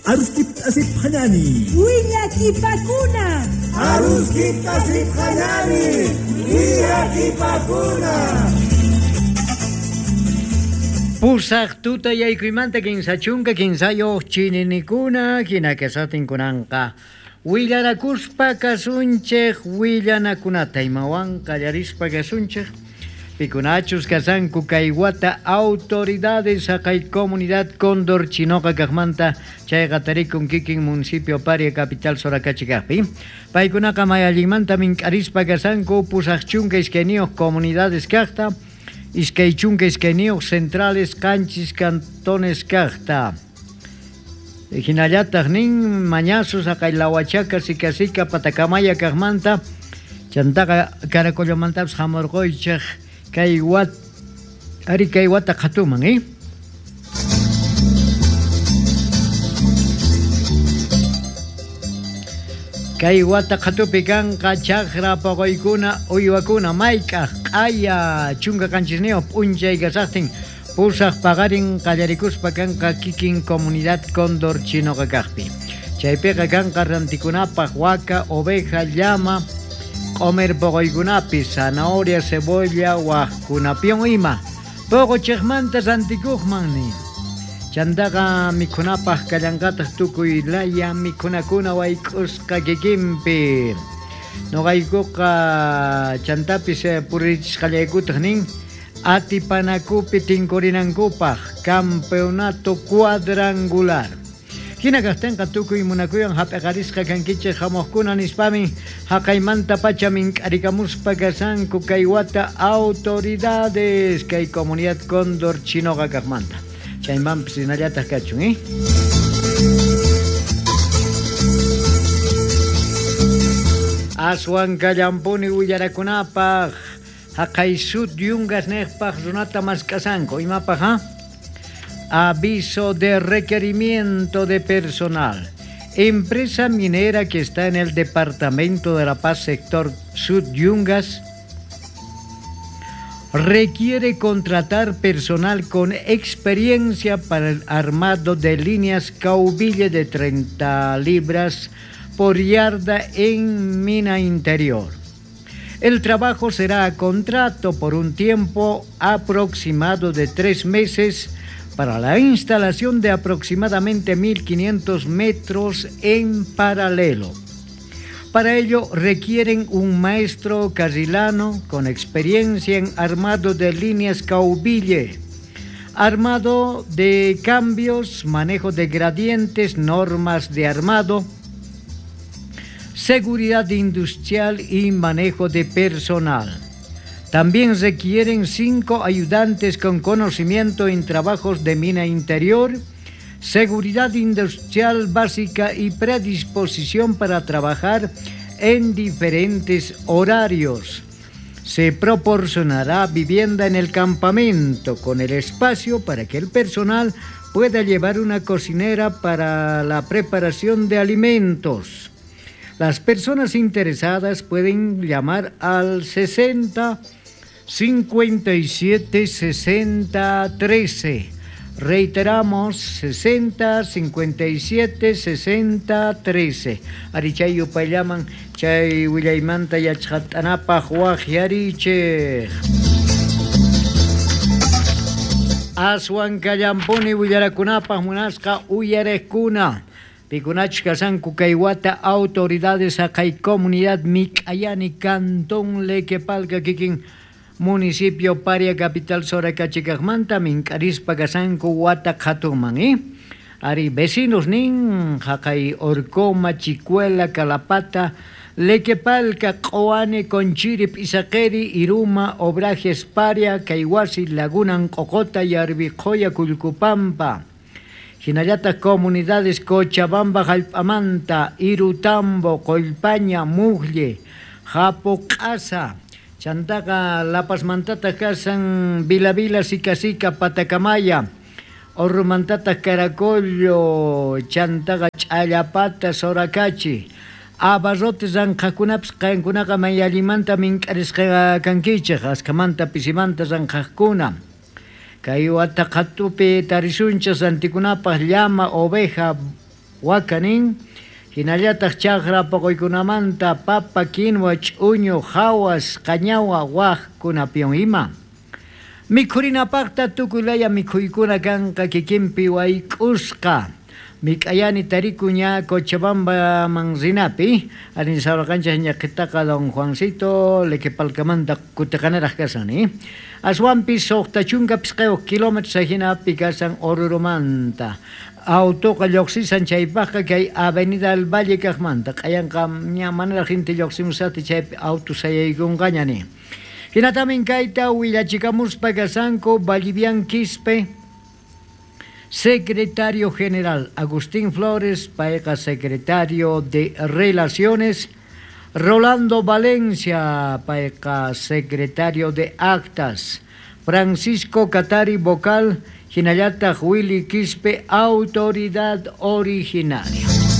Aruskipt'asipqañani. Willakipakuna. Aruskipt'asipqañani. Willakipakuna. Pusaq tuta yaykuymanta 33 chininikuna hina kasatinkunanqa. Willarakuspa kasunchej willanakunata imawan qallarispa kasunchej. Pikunachus kasanku kay wata autoridades haqay comunidad Cóndor Chinoqa kaqmanta chayqa tarikun kikin municipio Paria capital Soracachi kaqpi. Paykunaqa may allinmanta mink'arispa kasanku 82 comunidades kaqta, 22 centrales 7 cantones kaqta. Hinallataq nin mañasus haqay Lahuachaca, Sicasica, Patacamaya kaqmanta, chantaqa Caracollomantapas hamurquychej kay wat ari kay wata qhatuman, eh? Kay wata qhatupi kanqa chaqra poqoykuna uywakuna mayk'aq q'aya 17 p'unchay kasaqtin pusaq paqarin qallarikuspa kanqa kikin comunidad Cóndor Chinoqa kaqpi. Chaypiqa kanqa rantikunapaq waka, oveja, llama, q'omer poqoykunapi, zanahoria, cebolla, waqkunapiwan ima. Poqochejmanta rantikuqman nin. Chantaqa mikhunapaq kallanqataq tukuy laya mikhunakuna wayk'usqa kikinpi. Noqaykuqa chantapis purichisqallaykutaq nin atipanakupi tinkurinankupaq campeonato cuadrangular. Hina kaqtinqa tukuy munakuywan hap'iqarisqa kankichej hamuqkuna nispami haqaymanta pacha mink'arikamuspa kasanku kay wata autoridades kay comunidad Cóndor Chinoqa kaqmanta. Chaymanpis hinallataq kachun, eh? Aswan kallampuni willarakunapaq haqay sud yungas nejpaq runata mask'asanku imapaq, ha? Aviso de requerimiento de personal. Empresa minera que está en el departamento de La Paz, sector Sud Yungas, requiere contratar personal con experiencia para el armado de líneas caubille de 30 libras por yarda en mina interior. El trabajo será a contrato por un tiempo aproximado de 3 meses para la instalación de aproximadamente 1.500 metros en paralelo. Para ello requieren un maestro carrilano con experiencia en armado de líneas caubille, armado de cambios, manejo de gradientes, normas de armado, seguridad industrial y manejo de personal. También requieren 5 ayudantes con conocimiento en trabajos de mina interior, seguridad industrial básica y predisposición para trabajar en diferentes horarios. Se proporcionará vivienda en el campamento con el espacio para que el personal pueda llevar una cocinera para la preparación de alimentos. Las personas interesadas pueden llamar al 60 57 60 13. Reiteramos, 60 57 60 13. Ari chay yupayllaman chay willaymanta yachqat'anapaq waqyarichej. Aswan kallampuni willarakunapaq munasqa uyariqkuna. Pikunachus kasanku kay wata autoridades haqay comunidad Mik'ayani cantón Lequepalca kikin municipio Paria capital Soracachi kaqmanta mink'arispa kasanku wata qhatuman, eh? Ari vecinos nin haqay Orcoma, Chicuela, Calapata, Lequepalca, Q'uani, Conchiri, P'isaqeri, Iruma, Obrajes, Paria, Kayhuasi, Laguna, Q'uqota, Yarviqhoya, Kullkupampa. Hinallataq comunidades Cochabamba, Jallp'amanta, Irutambo, Qollpaña, Mujlle, Japoq'asa, Chantaqa La Pazmantataq kasan Vila Vila, Sica Sica, Patacamaya, Orrumantataq Caracollo, Chantaqa Ch'allapata, Soracachi, Abarrotes ranqhaqkunapis qankunaqa may allimanta mink'arisqa kankichej, askhamanta pisimanta ranqhaqkuna. Kay wata qhatupi tarisunchej rantikunapaq llama, oveja, Waka nin, hinallataq chaqra poqoykunamanta papa, quinua, ch'uñu, hawas, qañawa, wajkunapiwan ima. Mikhurinapaqta tukuy laya mikhuykuna kanqa kikinpi wayk'usqa. Mik'ayani tarikun ña Cochabambaman rinapi, arin sawraqanchis ñaqhitaqa don Juancito Lequepalcamanta kutiqanaraq kashan ni. Aswanpis 65 kilómetros ajinapi kashan Oruromanta. Autoqa lluqsisan chaypaqqa kay Avenida del Valle kaqmanta q'ayanqa ña manaraq inti lluqsimusati chaypi auto sayaykunqaña ni. Hinatamin kayta willachikamuspa kashanku Vallivian Quispe, secretario general Agustín Flores, payqa secretario de Relaciones, Rolando Valencia, payqa secretario de Actas, Francisco Catari, vocal, hinallataq Willy Quispe, autoridad originaria.